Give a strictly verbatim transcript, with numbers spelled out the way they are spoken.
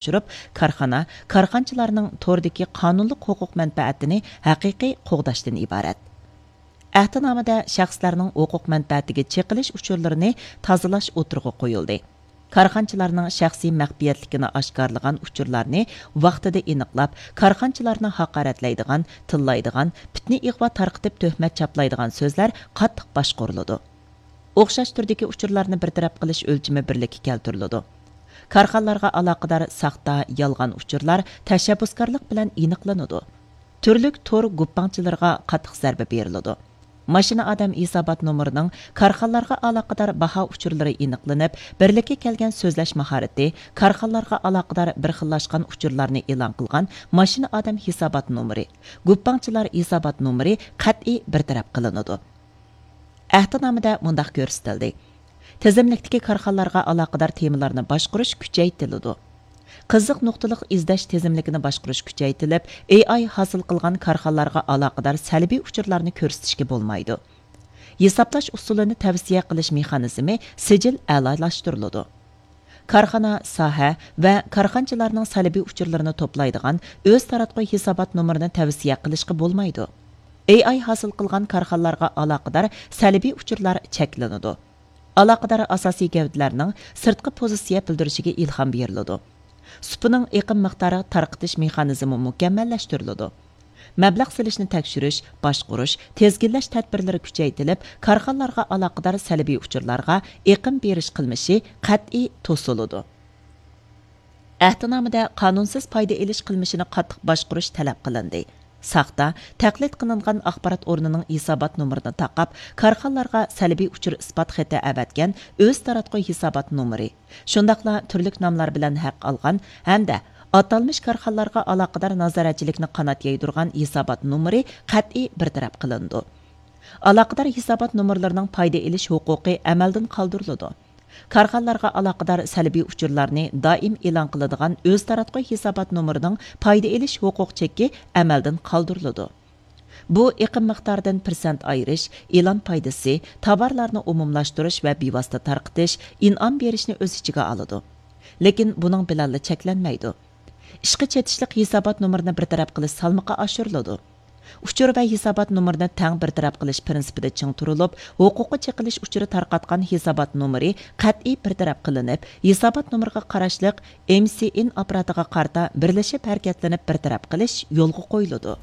ئاشۇرۇپ، كارخانا، كارخانىچىلارنىڭ توردىكى قانۇنلۇق ھوقۇق مەنپەئەتىنى ھەقىقىي قوغداشتىن ئىبارەت. ئەھدىنامىدە شەخسلەرنىڭ ھوقۇق مەنپەئەتىگە چېقىلىش ئۇچۇرلىرىنى تازىلاش ئوتتۇرىغا قويۇلدى. كارخانىچىلارنىڭ شەخسىي مەخپىيەتلىكىنى ئاشكارىلىغان ئۇچۇرلارنى ۋاقتىدا ئېنىقلاپ، كارخانىچىلارنى ھاقارەتلەيدىغان، تىللايدىغان، پىتنە-ئىغۋا تارقىتىپ تۆھمەت چاپلايدىغان سۆزلەر قاتتىق باشقۇرۇلىدۇ. ئوخشاش تۈردىكى ئۇچۇرلارنى بىر تەرەپ قىلىش ئۆلچىمى بىرلىككە كەلتۈرۈلىدۇ. كارخانىلارغا ئالاقىدار ساختا، يالغان ئۇچۇرلار تەشەببۇسكارلىق بىلەن ئېنىقلىنىدۇ. تۈرلۈك تور گۇپپاڭچىلىرىغا قاتتىق زەربە بېرىلىدۇ. ماشىنا ئادەم ھېسابات نومۇرىنىڭ كارخانىلارغا ئالاقىدار باھا ئۇچۇرلىرى ئېنىقلىنىپ، بىرلىككە كەلگەن سۆزلەش ماھارىتى، كارخانىلارغا ئالاقىدار بىر خىللاشقان ئۇچۇرلارنى ئېلان قىلغان ماشىنا ئادەم ھېسابات نومۇرى، گۇپپاڭچىلار ھېسابات نومۇرى قەتئىي بىر تەرەپ قىلىنىدۇ. ئەھدىنامىدە مۇنداق كۆرسىتىلدى: تىزىملىكتىكى كارخانىلارغا ئالاقىدار تېمىلارنى باشقۇرۇش كۈچەيتىلىدۇ. قىزىق نۇقتىلىق ئىزدەش تىزىملىكىنى باشقۇرۇش كۈچەيتىلىپ، ئېي ئاي ھاسىل قىلغان كارخانىلارغا ئالاقىدار سەلبىي ئۇچۇرلارنى كۆرسىتىشكە بولمايدۇ. ھېسابلاش ئۇسۇلىنى تەۋسىيە قىلىش مېخانىزمى سىجىل ئەلالاشتۇرۇلىدۇ. كارخانا، ساھە ۋە كارخانىچىلارنىڭ سەلبىي ئۇچۇرلىرىنى توپلايدىغان ئۆز تاراتقۇ ھېسابات نومۇرىنى تەۋسىيە قىلىشقا بولمايدۇ. ئېي ئاي ھاسىل قىلغان كارخانىلارغا ئالاقىدار سەلبىي ئۇچۇرلار چەكلىنىدۇ. ئالاقىدار ئاساسىي گەۋدىلەرنىڭ سىرتقى پوزىتسىيە بىلدۈرۈشىگە ئىلھام بېرىلىدۇ. سۇپىنىڭ ئېقىم مىقدارى تارقىتىش مېخانىزمى مۇكەممەللەشتۈرۈلىدۇ. مەبلەغ سېلىشنى تەكشۈرۈش، باشقۇرۇش، تىزگىنلەش تەدبىرلىرى كۈچەيتىلىپ، كارخانىلارغا ئالاقىدار سەلبىي ئۇچۇرلارغا ئېقىم بېرىش قىلمىشى قەتئىي توسۇلىدۇ. ئەھدىنامىدە قانۇنسىز پايدا ئېلىش قىلمىشىنى قاتتىق باشقۇرۇش تەلەپ قىلىندى. ساختا، تەقلىد قىلىنغان ئاخبارات ئورنىنىڭ ھېسابات نومۇرىنى تاقاپ، كارخانىلارغا سەلبىي ئۇچۇر ئىسپات خېتى ئەۋەتكەن ئۆز تاراتقۇ ھېسابات نومۇرى، شۇنداقلا تۈرلۈك ناملار بىلەن ھەق ئالغان ھەمدە ئاتالمىش كارخانىلارغا ئالاقىدار نازارەتچىلىكنى قانات يايدۇرغان ھېسابات نومۇرى قەتئىي بىر تەرەپ قىلىنىدۇ. ئالاقىدار ھېسابات نومۇرلىرىنىڭ پايدا ئېلىش ھوقۇقى ئەمەلدىن قالدۇرۇلىدۇ. كارخانىلارغا ئالاقىدار سەلبىي ئۇچۇرلارنى دائىم ئېلان قىلىدىغان ئۆز تاراتقۇ ھېسابات نومۇرىنىڭ پايدا ئېلىش ھوقۇق چېكى ئەمەلدىن قالدۇرۇلىدۇ. بۇ ئېقىم مىقدارىدىن پىرسەنت ئايرىش، ئېلان پايدىسى، تاۋارلارنى ئومۇملاشتۇرۇش ۋە بىۋاسىتە تارقىتىش، ئىنئام بېرىشنى ئۆز ئىچىگە ئالىدۇ. لېكىن بۇنىڭ بىلەنلا چەكلەنمەيدۇ. ئىشقا چېتىشلىق ھېسابات نومۇرىنى بىر تەرەپ قىلىش سالمىقى ئاشۇرۇلىدۇ. ئۇچۇر ۋە ھېسابات نومۇرىنى تەڭ بىر تەرەپ قىلىش پىرىنسىپىدا چىڭ تۇرۇلۇپ، ھوقۇققا چېقىلىش ئۇچۇرى تارقاتقان ھېسابات نومۇرى قەتئىي بىر تەرەپ قىلىنىپ، ھېسابات نومۇرىغا قاراشلىق ئېم سى ئېن ئاپپاراتىغا قارىتا بىرلىشىپ ھەرىكەتلىنىپ بىر تەرەپ قىلىش يولغا قويۇلىدۇ.